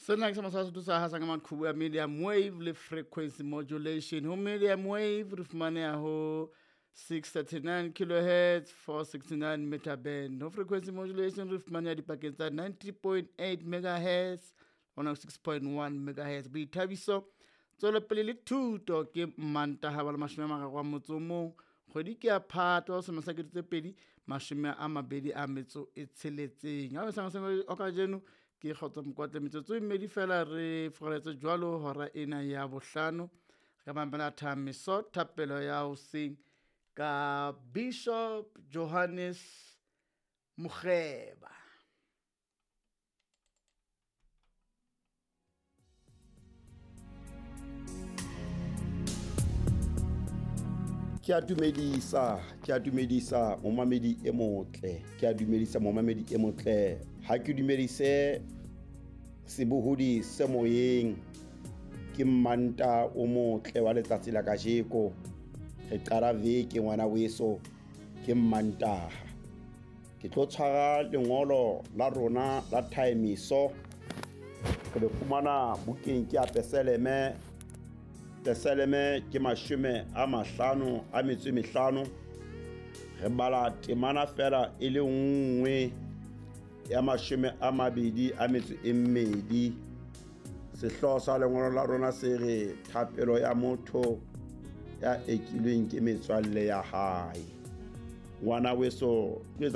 Sena ke sa Sesotho sa hasang ka maqhubu a medium wave le frequency modulation. Ho medium wave re fumaneha ho 639 kilohertz, 469 meter band. Ho frequency modulation re fumaneha dipakeng tsa 90.8 megahertz hona 6.1 megahertz. Boithabiso, tswelopele le thuto ke Mantaha wa 31 kgwedi ke ya Phato selemo sa 2026. Ha o kajeno ke Kgotso Mokwatle, metsotso e mmedi fela re furaletse jwalo hora ena ya bohlano. Re ka mamela thamiso thapelo ya hoseng ka Bishop Johannes Mokgeba. Ke a dumedisa, ke a dumedisa momamedi e motle, ke a dumedisa momamedi e motle. Ha ke dumedise sebohodi se moyeng, ke Mmanta o motle wa letsatsi la kajeko. Re qala veke ngwana weso, ke Mmantaha. Ke tlo tshwara lengolo la rona la thaemiso, re le fumana bukeng ke ya Peseleme. Peseleme ke 55. Re bala temana fela e le nngwe ya 22. Sehlooho sa lengolo la rona se re thapelo ya motho ya ekilweng ke metswalle ya hae. Ngwana weso, tlo etsa